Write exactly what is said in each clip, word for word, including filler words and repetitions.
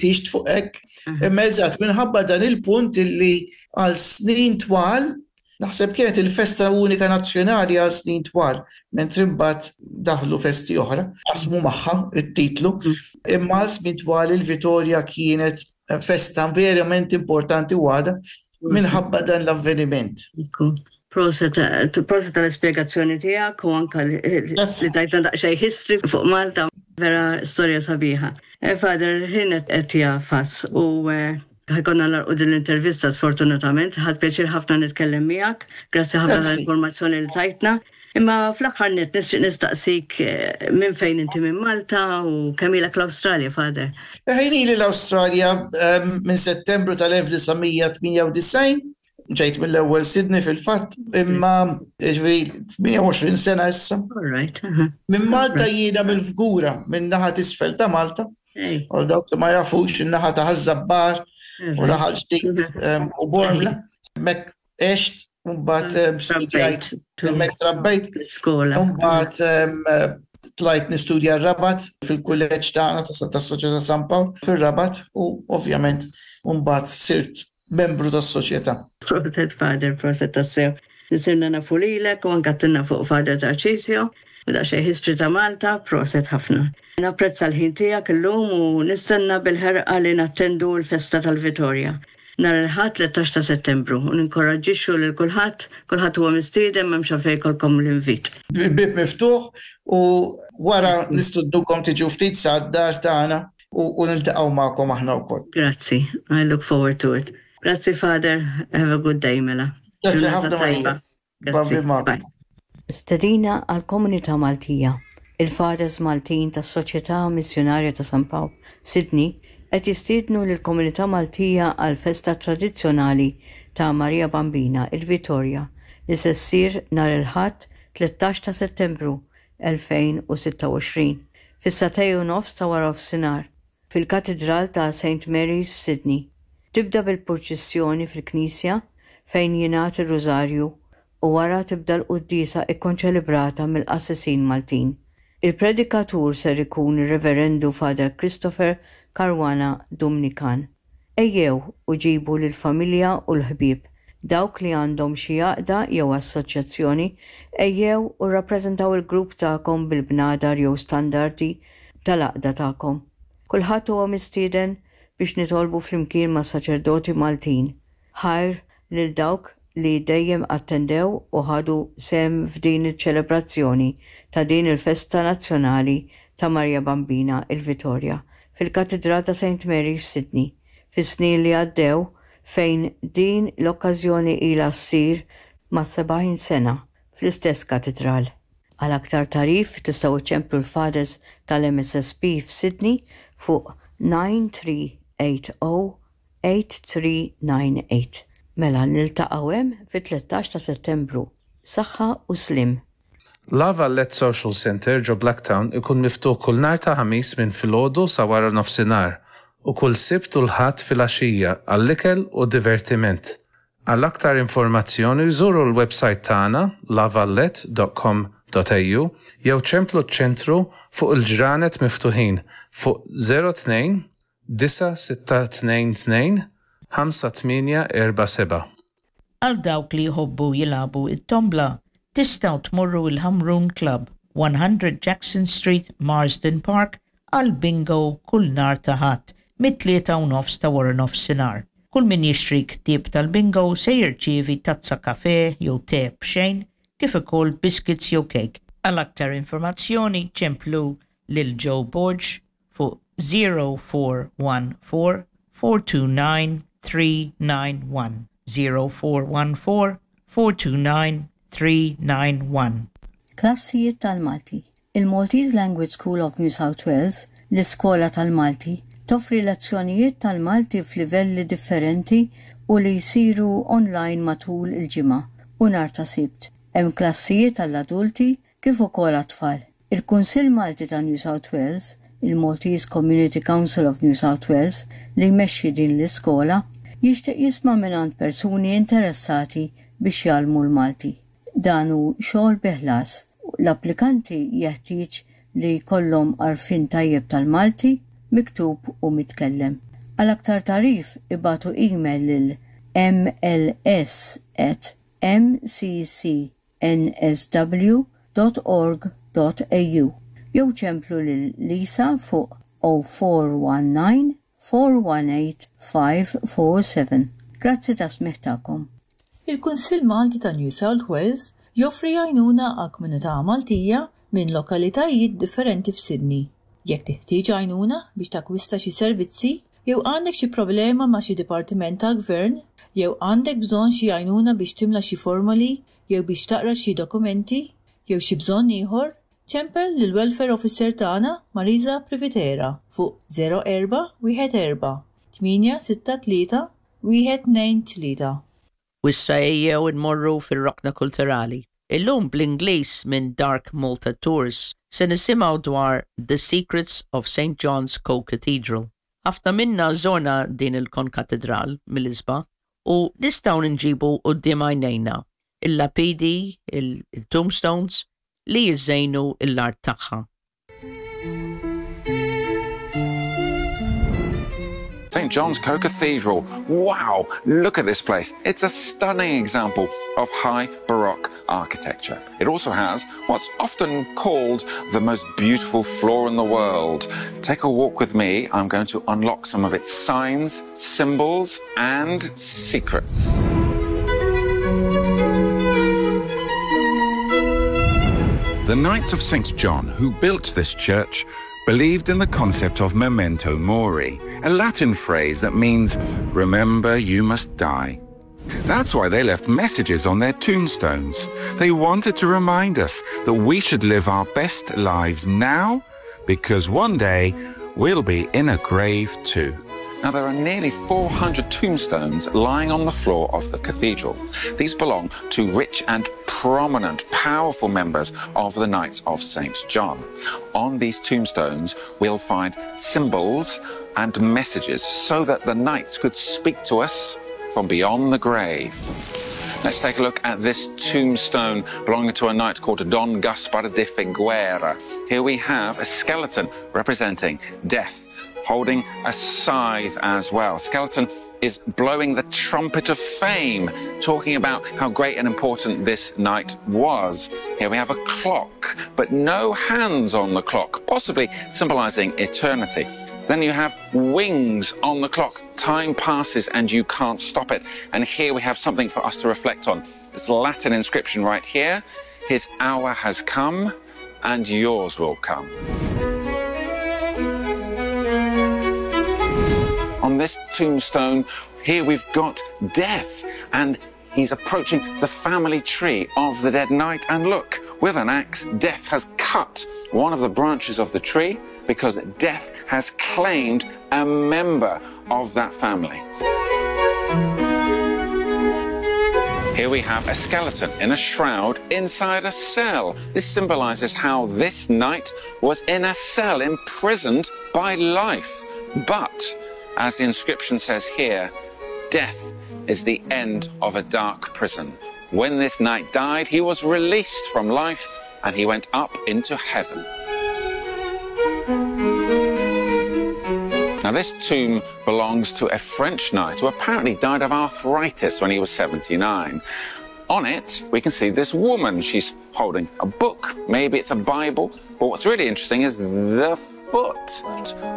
fittixt fuq hekk. Imma eżatt minħabba dan il-punt illi għal snin twal naħseb kienet il-festa unika nazzjonali għal snin twal, mentri mbagħad daħlu festi oħra, qasmu magħha it-titlu, imma għal snin twal il-Vitorja kienet festa verament importanti u għadha minħabba dan l-avveniment. Proset proset tal-ispjegazzjoni tiegħek u anka li li tajtna daqsxejn history fuq Malta, vera storja sabiħa. Eh, Father, ħin qed jagħfas u eh, ħa jkollna nagħlqu din l-intervista sfortunatament, ħadt pjaċir ħafna nitkellem miegħek, grazzi ħafna tal-informazzjoni li tajtna. Imma fl-aħħar net nixtieq nistaqsik eh, minn fejn inti minn Malta u kemm ilek l-Awstralja, Father? Ħin ili l-Awstralja ehm, minn Settembru tal-elf disa' mija tmienja u disgħin, ġejt mill-ewwel Sydney fil-fatt, imma ġifieri tmienja u għoxrin sena issa. All right. uh-huh. Minn Malta jiena mill-Fgura, minn naħa t'isfel ta' Malta. Hey. U dawk li ma jafux in-naħa ta' Ħaż-Żabbar u Raħal Ġdid ehm, u Bormla. Hemmhekk għext, u mbagħad ehm, studjajt, hemmhekk trabbejt. L-iskola. U mbagħad ehm, tlajt nistudja r-Rabat fil-kulleġġ tagħna tas-Soċjetà San Pawl fir-Rabat u ovvjament mbagħad sirt membru tas-soċjetà. Proset, Father, proset tassew. Sirna nafu lilek u anka għedtilna fuq Father Tarcisio u daqsxejn history ta' Malta, proset ħafna. Napprezza l-ħin tiegħek illum u nistenna bil-ħerqa li nattendu l-festa tal-Vitorja nhar il-Ħadd tlettax ta' Settembru u ninkoraġġixxu lil kulħadd, kulħadd huwa mistieden, m'hemmx għalfejn jkollkom l-invit. Bib miftuħ u wara nistednukom tiġu ftit sa d-dar tagħna u u niltaqgħu magħkom aħna wkoll. Grazzi, I look forward to it. Grazzi, Father, have a good day mela. Grazzi Ġurnata ħafna, tajba. Marija. Grazzi. Bambi magħkom. Bye. Stedina għal komunità Maltija. Il-Fathers Maltin tas-Soċjetà Missjonarja ta' San Pawl, Sydney, qed jistiednu lill komunità Maltija għal festa tradizzjonali ta' Maria Bambina, il-Vitorja, li se ssir nhar il-Ħadd tlettax ta' Settembru elfejn u sitta u għoxrin fis-sagħtejn u nofs ta' wara nofsinhar fil-Katidral ta' Saint Mary's f'Sydney. Tibda bil-purċissjoni fil-Knisja fejn jingħad ir-Rużarju u wara tibda l-quddiesa ikkonċelebrata mill-qassisin Maltin. Il-predikatur ser ikun ir-Reverendu Father Christopher Caruana Dumnikan. Ejjew u ġibu lill-familja u l-ħbieb. Dawk li għandhom xi għaqda jew assoċjazzjoni, ejjew u rappreżentaw il-grupp tagħkom bil-bnadar jew standardi tal-għaqda tagħkom. Kulħadd huwa mistieden biex nitolbu flimkien ma' saċerdoti Maltin. Ħajr lil dawk li dejjem attendew u ħadu sehem f'din iċ-ċelebrazzjoni ta' din il-festa nazzjonali ta' Maria Bambina, il-Vitorja, fil-Katidral ta' Saint Mary f'Sydney fis-snin li għaddew, fejn din l-okkażjoni ilha ssir ma' sebgħin sena fl-istess katidral. Għal aktar tagħrif tistgħu ċemplu l-Fathers tal-M S S P f'Sydney fuq nine three eight zero eight three nine eight. Mela niltaqgħu hemm fit-tlettax ta' Settembru. Saħħa u sliem. La Valette Social Centre ġo Blacktown ikun miftuħ kull nhar ta' Ħamis minn filgħodu sa wara nofsinhar u kull Sibt u l-Ħadd filgħaxija għall-ikel u divertiment. Għal aktar informazzjoni żuru l-website tagħna lavallette dot com dot A U jew ċemplu ċ-ċentru fuq il-ġranet miftuħin fuq zero tnejn disa' sitta tnejn tnejn ħamsa tmienja erba' seba'. Għal dawk li jħobbu jilagħbu it-tombla, tistgħu tmorru il-Hamrun Club, one hundred Jackson Street, Marsden Park, għal bingo kull nhar ta' Ħadd mit-tlieta u nofs ta' wara nofsinhar. Kull min jixtri ktieb tal-bingo se jirċievi tazza kafe jew te b'xejn, kif ukoll biscuits jew cake. Għal aktar informazzjoni ċemplu lil Joe Borg fuq zero four one four four two nine three nine one, zero four one four four two nine three nine one. Klassijiet tal-Malti. Il-Maltese Language School of New South Wales, l-Iskola tal-Malti, toffri lezzjonijiet tal-Malti f'livelli differenti u li jsiru online matul il-ġimgħa u nhar ta' Sibt. Hemm klassijiet għall-adulti kif ukoll għat-tfal. Il-Kunsill Malti ta' New South Wales, il-Maltese Community Council of New South Wales, li jmexxi din l-iskola, jixtieq jisma' mingħand persuni interessati biex jgħallmu l-Malti. Dan hu xogħol bi ħlas. L-applikanti jeħtieġ li jkollhom għarfien tajjeb tal-Malti, miktub u mitkellem. Għal aktar tagħrif ibagħtu email lil M L S at M C C N S W dot org dot A U jew ċemplu lil Lisa fuq zero four one nine four one eight five four seven. Grazzi tas-smigħ tagħkom. Il-Kunsill Malti ta' New South Wales joffri għajnuna għal komunità Maltija minn lokalitajiet differenti f'Sydney. Jekk teħtieġ għajnuna biex takwista xi servizzi, jew għandek xi problema ma' xi dipartiment tal-gvern, jew għandek bżonn xi għajnuna biex timla xi formoli, jew biex taqra xi dokumenti, jew xi bżonn ieħor, ċempel lil welfare officer tagħna Marisa Privitera fuq zero erba' wieħed erba' tmienja sitta tlieta wieħed tnejn tlieta. U issa ejjew nmorru fir-rokna kulturali. Illum bl-Ingliż minn Dark Malta Tours se nisimgħu dwar The Secrets of Saint John's Co-Cathedral. Ħafna minna żorna din il-konkatedral mill-isbaħ u nistgħu nġibu quddiem għajnejna il-lapidi, il-tombstones li jiżejnu l-art tagħha. Saint John's Co Cathedral. Wow, look at this place. It's a stunning example of high Baroque architecture. It also has what's often called the most beautiful floor in the world. Take a walk with me. I'm going to unlock some of its signs, symbols, and secrets. The Knights of Saint John, who built this church, believed in the concept of memento mori, a Latin phrase that means, "Remember you must die." That's why they left messages on their tombstones. They wanted to remind us that we should live our best lives now because one day we'll be in a grave too. Now, there are nearly four hundred tombstones lying on the floor of the cathedral. These belong to rich and prominent, powerful members of the Knights of Saint John. On these tombstones, we'll find symbols and messages so that the knights could speak to us from beyond the grave. Let's take a look at this tombstone belonging to a knight called Don Gaspar de Figuera. Here we have a skeleton representing death, holding a scythe as well. Skeleton is blowing the trumpet of fame, talking about how great and important this knight was. Here we have a clock, but no hands on the clock, possibly symbolizing eternity. Then you have wings on the clock. Time passes and you can't stop it. And here we have something for us to reflect on. This Latin inscription right here: "His hour has come and yours will come." On this tombstone, here we've got Death, and he's approaching the family tree of the dead knight. And look, with an axe, Death has cut one of the branches of the tree because Death has claimed a member of that family. Here we have a skeleton in a shroud inside a cell. This symbolizes how this knight was in a cell, imprisoned by life. But, as the inscription says here, "Death is the end of a dark prison. When this knight died, he was released from life and he went up into heaven." Now, this tomb belongs to a French knight who apparently died of arthritis when he was seventy-nine. On it, we can see this woman. She's holding a book. Maybe it's a Bible. But what's really interesting is the foot.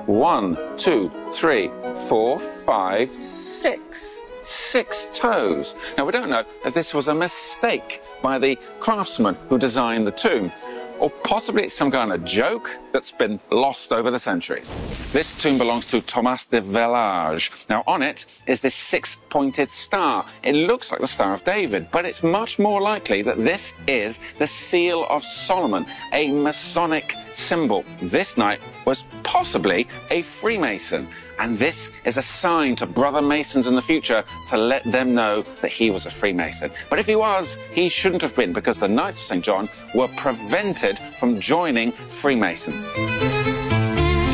One, two, three, four, five, six. Six toes. Now, we don't know if this was a mistake by the craftsman who designed the tomb, or possibly it's some kind of joke that's been lost over the centuries. This tomb belongs to Thomas de Village. Now, on it is this six-pointed star. It looks like the Star of David, but it's much more likely that this is the Seal of Solomon, a Masonic symbol. This knight was possibly a Freemason, and this is a sign to brother Masons in the future to let them know that he was a Freemason. But if he was, he shouldn't have been, because the Knights of Saint John were prevented from joining Freemasons.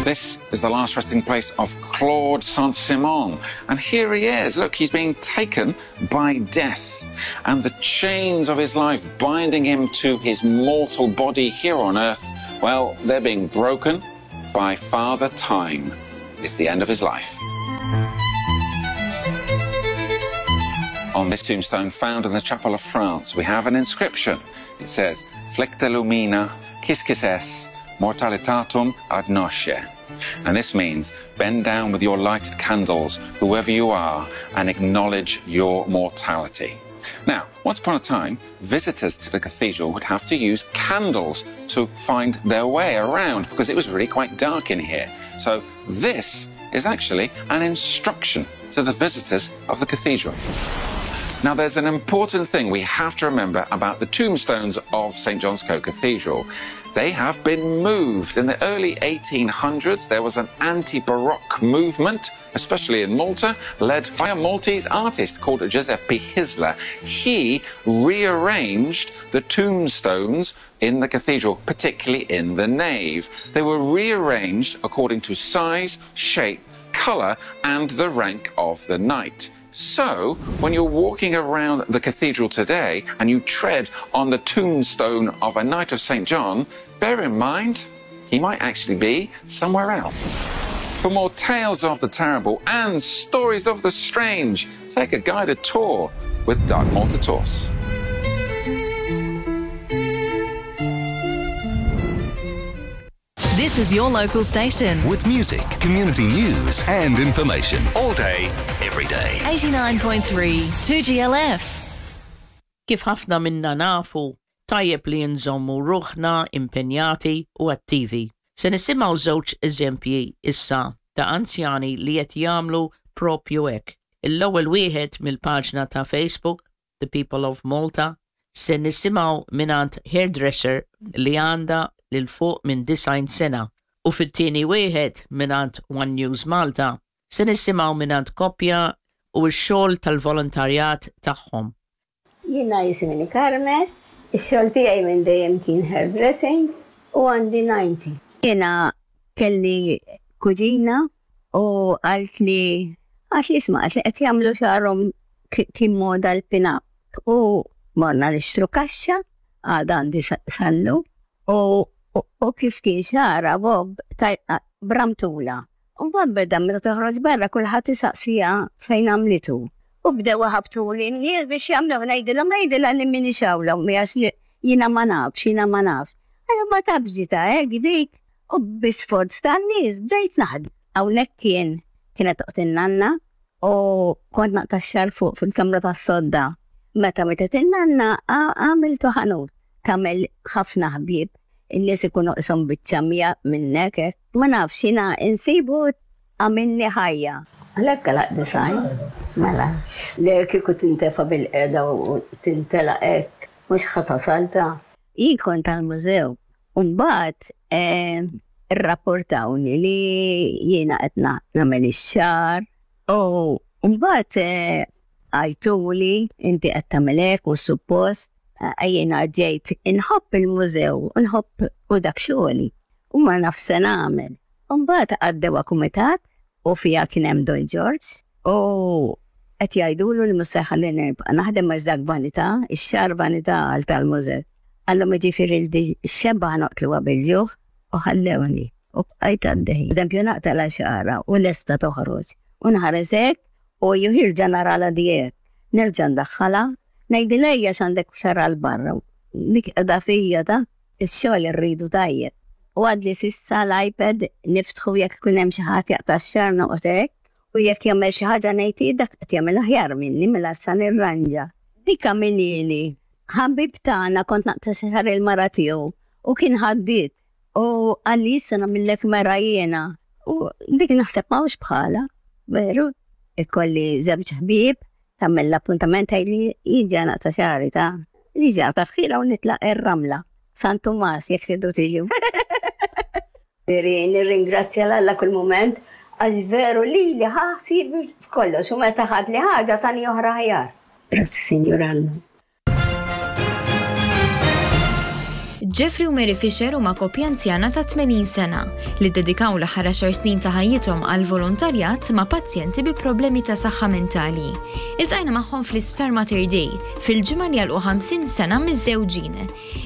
This is the last resting place of Claude Saint-Simon. And here he is. Look, he's being taken by death. And the chains of his life binding him to his mortal body here on earth, well, they're being broken by Father Time. It's the end of his life. On this tombstone found in the Chapel of France, we have an inscription. It says, Flecte lumina, quisquis es, mortalitatum agnosce. And this means, bend down with your lighted candles, whoever you are, and acknowledge your mortality. Now, once upon a time, visitors to the cathedral would have to use candles to find their way around because it was really quite dark in here. So this is actually an instruction to the visitors of the cathedral. Now, there's an important thing we have to remember about the tombstones of St John's Co-Cathedral. They have been moved. In the early eighteen hundreds, there was an anti-Baroque movement, especially in Malta, led by a Maltese artist called Giuseppe Hyzler. He rearranged the tombstones in the cathedral, particularly in the nave. They were rearranged according to size, shape, colour, and the rank of the knight. So, when you're walking around the cathedral today and you tread on the tombstone of a Knight of St John, bear in mind, he might actually be somewhere else. For more tales of the terrible and stories of the strange, take a guided tour with Dark Malta Tours. This is your local station. With music, community news and information. All day, every day. eighty-nine point three, two G L F. Kif ħafna minna nafu, tajjeb li nżommu ruħna impenjati u attivi. Se nisimgħu żewġ eżempji issa ta' anzjani li qed jagħmlu propju hekk. L-ewwel wieħed mill-paġna ta' Facebook, The People of Malta, se nisimgħu mingħand hairdresser li għandha lil fuq minn disgħin sena, u fit-tieni wieħed mingħand One News Malta se nisimgħu mingħand koppja u x-xogħol tal-volontarjat tagħhom. Jiena jisimni Carmen, ix-xogħol tiegħi minn dejjem kien hairdressing u għandi ninety. Jiena kelli kuġina u qalt li għax li isma' għax li qed jagħmlu xagħarhom kien moda l-pin-up. U morna nixtru kaxxa, għadha għandi sallu, u u kif kien xara Bob bramtula. U mbagħad beda meta toħroġ barra kulħadd isaqsija fejn għamlitu. U bdew ħabtuli n-nies biex jagħmlu ngħidilhom ngħidilha li minni xawla għax jiena ma nafx, jiena ma nafx. Allura ma tafx ġita hekk dik u bi sforz tan-nies bdejt naħdem. Hawnhekk kien kienet toqgħod in-nanna u kont naqta' x-xagħar fuq fil-kamra tas-sodda. Meta mietet in-nanna għamiltu ħanut. Tagħmel ħafna ħbieb. In-nies ikunu qishom biċċa mija minnek hekk. Ma nafx jiena insibu għamilni ħajja. Għalhekk għalaq design. Mela, li kieku tintefa' bil-qeda u tintelaq hekk, mhux ħa tasalta. Jien kont tal-mużew. U mbagħad irrapportawni li jiena qed nagħmel ix-xagħar. U mbagħad għajtuli inti qed tagħmel hekk u suppost. Jiena ġejt inħobb il-mużew, nħobb u dak xogħli, u ma naf se nagħmel. U mbagħad għaddew kumitat u fiha kien hemm Don George u qed jgħidulu li mhux se jħallini nibqa' naħdem għax dak vanità, ix-xagħar vanità għal tal-mużew. Qallhom jiġifieri li x-xebgħa noqtluha bil-ġuħ u ħallewni u bqajt għaddej. Eżempju naqtala xagħarha u lesta toħroġ u nħares hekk u jirġa' narala dijek. Nerġa' ndaħħalha. Ngħidilha ejja x'għandek xara l barra. Dik qiegħda fija ta' ix-xogħol irridu tajjeb. U għadli sissa l-iPad niftħu jekk ikun hemm xi ħadd jaqta' x-xagħar noqgħod hekk u jekk jagħmel xi ħaġa ngħid dak qed jagħmel aħjar minni mela sa nirranġa. Dik għamilili ħabib tagħna kont naqta' xagħar il-mara tiegħu u kien ħaddied u qalli issa nagħmillek mera jiena. U dik naħseb m'hawnx bħala, veru? Ikolli żewġ ħbieb tagħmel l-appuntament tgħidli jiġi naqta' xagħri ta' jiġi naqta' ħila u nitlaq ir-ramla. San Tumas jekk tridu tiġu. Nirringrazzja 'l Alla kull mument għax veru li li ħasib f'kollox u meta ħad li ħaġa tani oħra aħjar. Grazzi Sinjur Alla. Jeffrey u Mary Fisher huma koppja anzjana ta' tmenin sena li ddedikaw l-aħħar għaxar snin ta' ħajjithom għal volontarjat ma' pazjenti bi problemi ta' saħħa mentali. Iltqajna magħhom fl-Isptar Mater Dei fil-ġimgħa li għalqu ħamsin sena miżżewġin.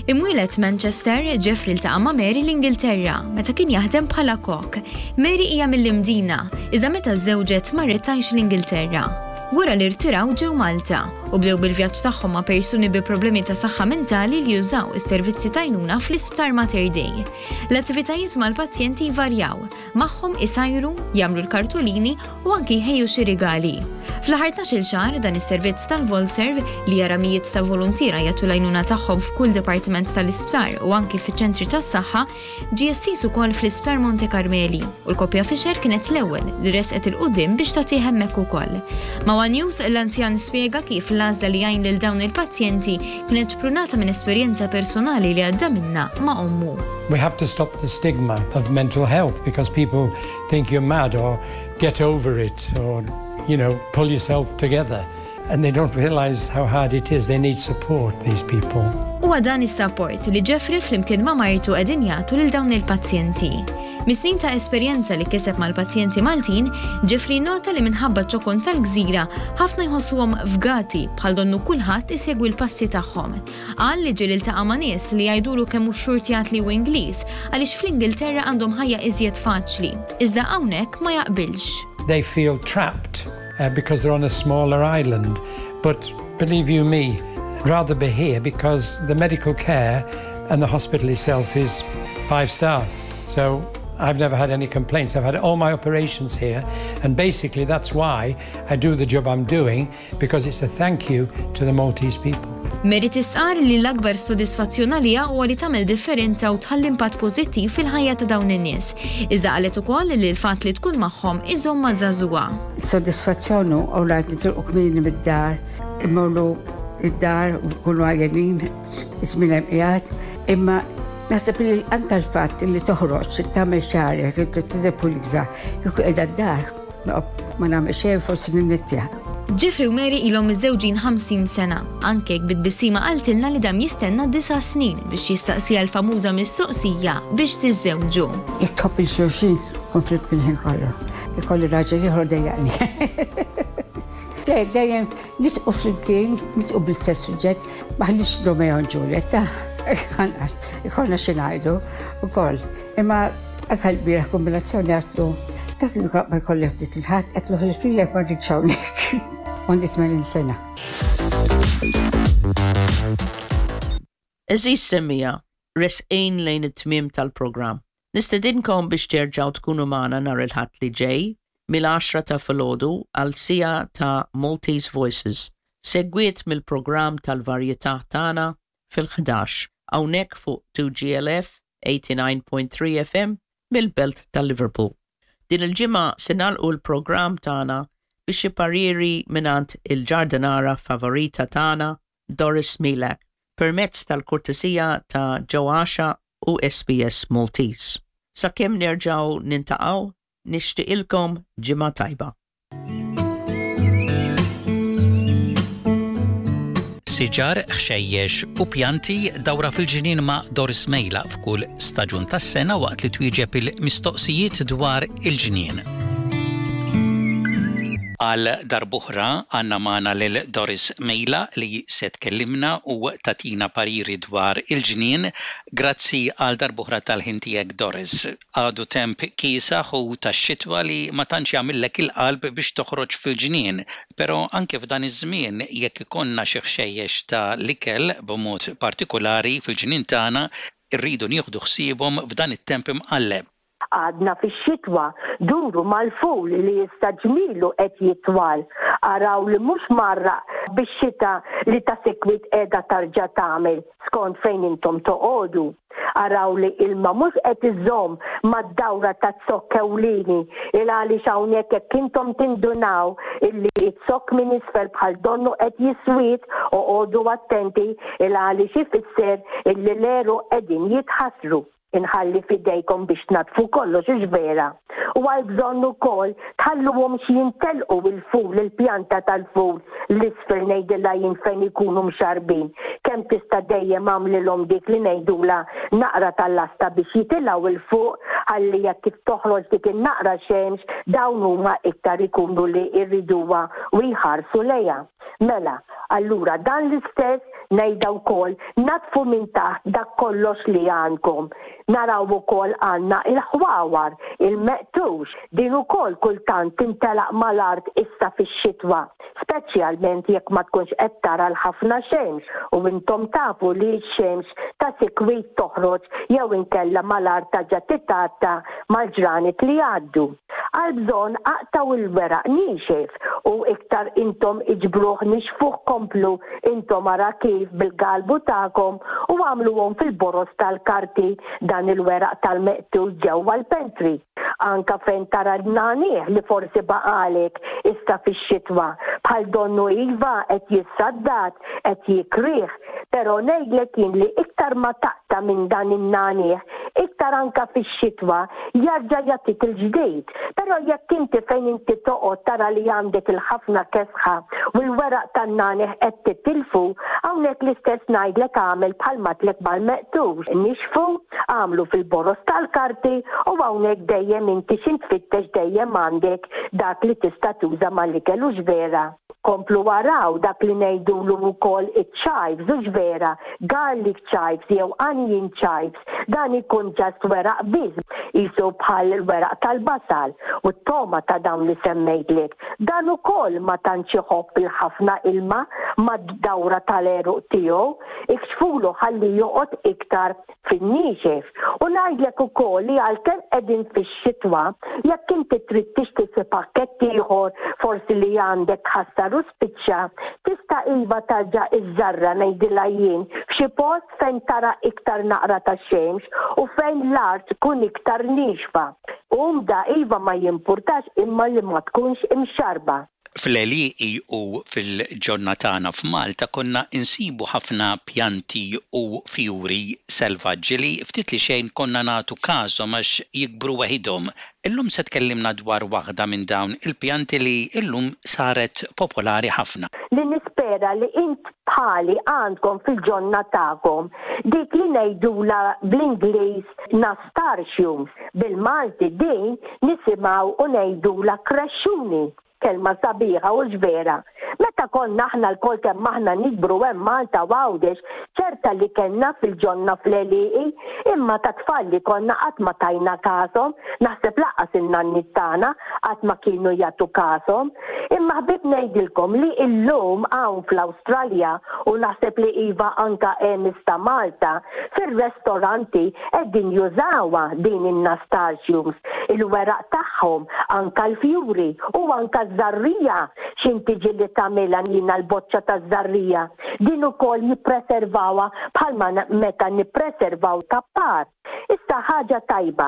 Imwieled Manchester, Jeffrey ltaqa' ma' Mary l-Ingilterra meta kien jaħdem bħala kok. Mary hija mill-Imdina, iżda meta żżewġet marret tgħix l-Ingilterra. Wara li rtiraw ġew Malta u bdew bil-vjaġġ tagħhom ma' persuni bi problemi ta' saħħa mentali li jużaw is-servizzi t'għajnuna fl-Isptar Mater Dei. L-attivitajiet mal-pazjenti jvarjaw, magħhom isajru, jagħmlu l-kartolini u anki jħejju xi rigali. Fl-aħħar tnax-il xahar dan is-servizz tal-Volserv li jara mijiet ta' voluntiera jagħtu l-għajnuna tagħhom f'kull dipartiment tal-isptar u anki fiċ-ċentri tas-saħħa ġie estiż ukoll fl-Isptar Monte Carmeli u l-koppja Fisher kienet l-ewwel li resqet 'il quddiem biex tagħtih hemmhekk ukoll. Ma' One News l-anzjan spjega kif l-għażla li jgħin lil dawn il-pazjenti kienet xprunata minn esperjenza personali li għadda minnha ma' ommu. We have to stop the stigma of mental health because people think you're mad or get over it or, you know, pull yourself together. And they don't realize how hard it is. They need support, these people. Huwa dan is-support li Jeffrey flimkien ma' martu qegħdin jagħtu lil dawn il-pazjenti. Mis-snin ta' esperjenza li kiseb mal-pazjenti Maltin, Jeffrey nota li minħabba ċ-ċokon tal-gżira ħafna jħossuhom fgati bħal donnu kulħadd isegwi l-passi tagħhom. Qal li ġieli ltaqa' ma' nies li jgħidulu kemm hu xxurtjat li hu Ingliż għaliex fl-Ingilterra għandhom ħajja iżjed faċli. Iżda hawnhekk ma jaqbilx. They feel trapped uh, because they're on a smaller island. But believe you me, I'd rather be here because the medical care and the hospital itself is five star. So I've never had any complaints. I've had all my operations here, and basically that's why I do the job I'm doing, because it's a thank you to the Maltese people. Mary tistqar li l-akbar sodisfazzjon għaliha huwa li tagħmel differenza u tħalli impatt pożittiv fil-ħajja ta' dawn in-nies. Iżda qalet ukoll li l-fatt li tkun magħhom iżommha żagħżugħa. Sodisfazzjon u rajt nitilqu kmieni mid-dar, immorru id-dar u nkunu għajjenin, iż-żmien hemm qiegħed, imma naħseb li anka l-fatt li toħroġ, tagħmel xagħrek, tidher pulita, kieku qiegħda d-dar, ma nagħmel xejn forsi ninnittja. Jeffrey u Mary ilhom miżżewġin ħamsin sena, anke jekk bit-tbissima qaltilna li dam jistenna disa' snin biex jistaqsiha l-famuża mistoqsija biex tiżżewġu. Jekk tħobb lil xulxin, kun flimkien il-ħin kollu. Ikolli raġel ieħor dejjaqni. Le, dejjem nidħku flimkien, nidħku bl-istess suġġett, m'aħniex Romeo and Juliet, ikollna xi ngħidu ukoll. Imma anke l-bieraħ kombinazzjoni għedtlu, taf li ma jkolli ftit il-ħadd, għedtlu ħlifilek ma rridx hawnhekk. Għandi tmenin sena. Għeżież semmiegħa, resqin lejn it-tmiem tal-programm. Nistedinkom biex terġgħu tkunu magħna nhar il-Ħadd li ġej mill-għaxra ta' filgħodu għal siegħa ta' Maltese Voices, segwit mill-programm tal-varjetà tagħna fil-ħdax, hawnhekk fuq two G L F eighty-nine point three F M mill-Belt ta' Liverpool. Din il-ġimgħa se nagħlqu l-programm tagħna biex xi pariri mingħand il-ġardinara favorita tagħna Doris Milak permezz tal-kortesija ta' Ġoaxa u S B S Maltese. Sakemm nerġgħu niltaqgħu, nixtieqilkom ġimgħa tajba. Siġar, ħxejjex u pjanti, dawra fil-ġnien ma' Doris Mejla f'kull staġun tas-sena waqt li twieġeb il-mistoqsijiet dwar il-ġnien. Għal darb'oħra għandna magħna lil Doris Mejla li se tkellimna u tagħtina pariri dwar il-ġnien. Grazzi għal darb'oħra tal-ħin tiegħek, Doris. Għadu temp kiesaħ u tax-xitwa li ma tantx jagħmillek il-qalb biex toħroġ fil-ġnien, però anke f'dan iż-żmien jekk ikollna xi ħxejjex ta' l-ikel b'mod partikolari fil-ġnien tagħna irridu nieħdu ħsiebhom f'dan it-temp imqalleb. Għadna fix-xitwa, duru mal-ful li jista' ġmielu qed jitwal. Araw li mhux mgħarraq bix-xita li ta' sikwit qiegħda tarġa' tagħmel skont fejn intom toqogħdu. Araw li ilma mhux qed iżomm mad-dawra ta' zokk ewlieni il għaliex hawnhekk jekk intom tindunaw illi z-zokk minn isfel bħal donnu qed jiswid, oqogħdu attenti il għaliex ifisser illi l-għeruq qegħdin jitħassru. Inħalli f'idejkom biex tnaddfu kollox hux vera? U għal bżonn ukoll tħalluhomx jintelqu il-ful, il-pjanta tal-ful l-isfel ngħidilha jien fejn ikunu mxarrbin. Kemm tista' dejjem agħmlilhom dik li ngħidulha naqra tal-lasta biex jitilgħu 'l fuq ħalli jekk kif toħroġ dik in-naqra xemx dawn huma iktar ikunu li jriduha u jħarsu lejha. Mela, allura dan l-istess ngħidha wkoll naddfu minn taħt dak kollox li għandkom. Naraw ukoll għandna il-ħwawar, il-meqtux, din ukoll kultant tintelaq mal-art issa fix-xitwa, speċjalment jekk ma tkunx qed tara l-ħafna xemx u intom tafu li x-xemx ta' sikwit toħroġ jew inkella mal-art tarġa' titgħatta mal-ġranet li jgħaddu. Għal bżonn aqtgħu il-weraq niexef u iktar intom iġbruh nixfuh komplu intom ara kif bil-galbu tagħkom u agħmluhom fil-boroż tal-karti dan il-weraq tal-meqtul ġewwa l-pantry. Anka fejn tara l-nagħniegħ li forsi baqagħlek issa fix-xitwa bħal donnu iva qed jissaddad, qed jikrih, però ngħidlek jien li iktar ma taqta' minn dan in-nagħniegħ, iktar anka fix-xitwa jarġa' jagħtik il-ġdid. Però jekk inti fejn inti toqgħod tara li għandek il-ħafna kesħa u l-weraq tan-nagħniegħ qed titilfu, hawnhekk l-istess ngħidlek agħmel bħal m'għedtlek mal-meqtux. Nixfu, agħmlu fil-boroż tal-karti u hawnhekk dejjem inti x'int tfittex dejjem għandek dak li tista' tuża mal-ikel hux vera? Komplu araw dak li ngħidulu wkoll iċ-chives hux vera? Garlic chives jew onion chives, dan ikun just weraq biss, qisu bħal weraq tal-basal u t-toma ta' dawn li semmejtlek. Dan ukoll ma tantx iħobb il-ħafna ilma mad-dawra tal-għeruq tiegħu, ikxfulu ħalli joqgħod iktar fin-niexef. U ngħidlek ukoll li għalkemm qegħdin fix-xitwa, jekk inti trid tixtri xi pakkett ieħor forsi li għandek tħassar u spiċċa, tista' iva tarġa' iżżarra ngħidilha jien f'xi post fejn tara iktar naqra ta' xemx u fejn l-art tkun iktar niexfa. Umda iva ma jimpurtax imma li ma tkunx imxarrba. Fl-għelieqi u fil-ġonna tagħna f'Malta konna insibu ħafna pjanti u fjuri selvaġġi li ftit li xejn konna nagħtu każhom għax jikbru waħidhom. Illum se tkellimna dwar waħda minn dawn il-pjanti li illum saret popolari ħafna. Li nispera li int bħali għandkom fil-ġonna tagħkom dik li ngħidulha bl-Ingliż nasturtiums, bil-Malti din nisimgħu u ngħidulha krexxuni. Kelma sabiħa u vera. Meta konna aħna lkoll kemm aħna nikbru hemm Malta u Għawdex, ċerta li kellna fil-ġonna fl-għelieqi, imma ta' tfal li konna qatt ma tajna każhom, naħseb lanqas in-nanniet tagħna qatt ma kienu jagħtu każhom. Imma ħbieb ngħidilkom li illum hawn fl-Awstralja u naħseb li iva anka hemm ta' Malta, fir-restoranti qegħdin jużawha din in-nasturtiums, il-weraq tagħhom, anka l-fjuri u anka żarrija x'inti ġieli tagħmilha jiena l-boċċa taż-żarrija. Din ukoll jippreservawha bħalma meta nippreservaw kappar. Issa ħaġa tajba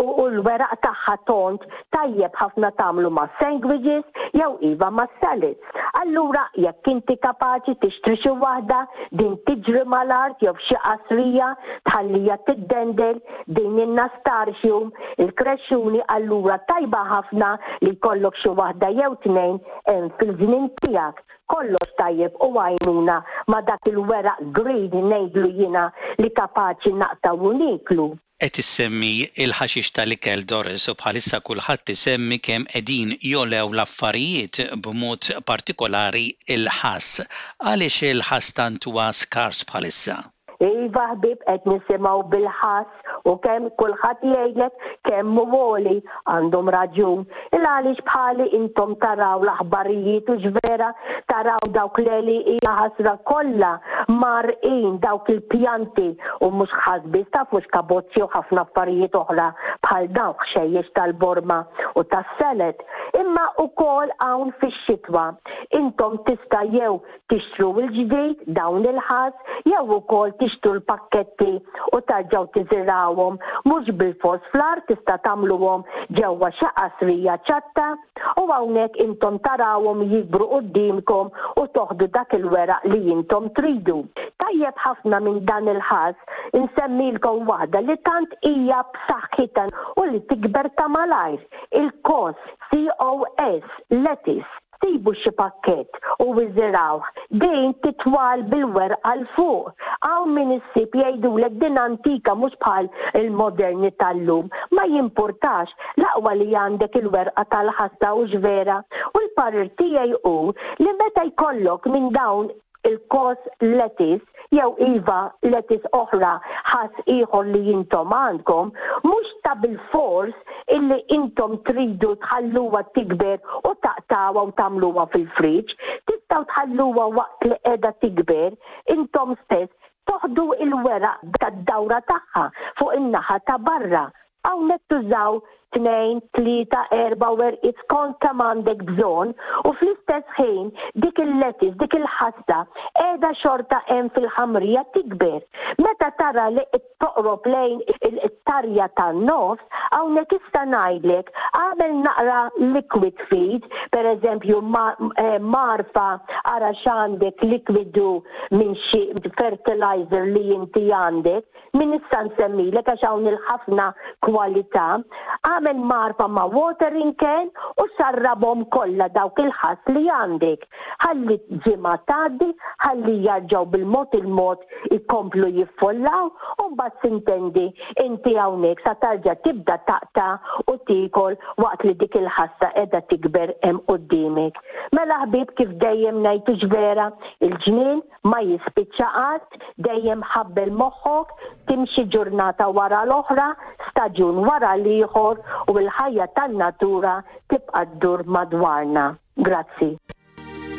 u l-weraq tagħha tond tajjeb ħafna tagħmlu ma' sandwiches jew iva ma' salads. Allura jekk inti kapaċi tixtri xi waħda din tiġri mal-art jew f'xi qasrija tħallija tiddendel din in-nasturtium, il-krexxuni allura tajba ħafna li jkollok xi waħda jew tnejn hemm fil-ġnien tiegħek. Kollox tajjeb u għajnuna ma' dak il-weraq green ngħidlu jiena li kapaċi naqtgħu u nieklu. Qed issemmi il-ħaxix tal-ikel Doris u bħalissa kulħadd isemmi kemm qegħdin jogħlew l-affarijiet b'mod partikolari il-ħass. Għaliex il-ħass tant huwa skars bħalissa? Iva ħbieb qed nisimgħu bil-ħass u kemm kulħadd jgħidlek kemm hu għoli għandhom raġun. Il għaliex bħali intom taraw l-aħbarijiet u vera taraw dawk l-għelieqi hija ħasra kollha marqin dawk il-pjanti u mhux ħass biss tafux kaboċċi u ħafna affarijiet oħra bħal dawk ħxejjex tal-borma u tas-salad. Imma ukoll hawn fix-xitwa intom tista' jew tixtru l-ġdid dawn il-ħass jew ukoll tixtru l-pakketti u tarġgħu tiżirgħuhom mhux bil-fors fl-art tista' tagħmluhom ġewwa xi qasrija ċatta u hawnhekk intom tarawhom jikbru quddiemkom u toħdu dak il-weraq li intom tridu. Tajjeb ħafna minn dan il-ħass insemmilkom waħda li tant hija b'saħħitha u li tikber ta' malajr. Il-cos, C O S, lettuce. Sibu xi pakkett u iżirgħuh. Din titwal bil-werqa 'l fuq. Hawn min issib jgħidulek din antika, mhux bħal il-moderni tal-lum. Ma jimpurtax, l-aqwa li għandek il-werqa tal-ħassa, u vera. U l-parir tiegħi hu li meta jkollok minn dawn il-cos lettuce jew iva lettuce oħra, ħass ieħor li intom għandkom, mhux ta' bil-fors illi intom tridu tħalluha tikber u taqtawha u tagħmluha fil-friġġ. Tistgħu tħalluha waqt li qiegħda tikber, intom stess toħdu il-weraq tad-dawra tagħha fuq in-naħa ta' barra. Hawnhekk tużaw tnejn, tlieta, erba' werqiet skont kemm għandek bżonn u fl-istess ħin dik il-lettuce, dik il-ħassa qiegħda xorta hemm fil-ħamrija tikber. Meta tara li toqrob lejn il-tarja tan-nofs, hawnhekk issa ngħidlek għamel naqra liquid feed, per eżempju eh, mgħarfa, ara x'għandek, likwidu minn xi fertilizer li inti għandek, min issa nsemmilek għax hawn il-ħafna kwalità, għamel mgħarfa ma' watering can u xarrabhom kollha dawk il-ħass li għandek. Ħalli ġimgħa tgħaddi, ħalli jarġgħu bil-mod il-mod ikomplu jiffollaw u mbagħad sintendi inti hawnhekk sa tarġa' tibda taqta' u tiekol waqt li dik il-ħassa qiegħda tikber hemm quddiemek. Mela ħbieb, kif dejjem ngħidu vera, il-ġnien ma jispiċċa qatt, dejjem ħabbel moħħok, timxi ġurnata wara l-oħra, staġun wara l-ieħor u l-ħajja tan-natura tibqa' ddur madwarna. Grazzi.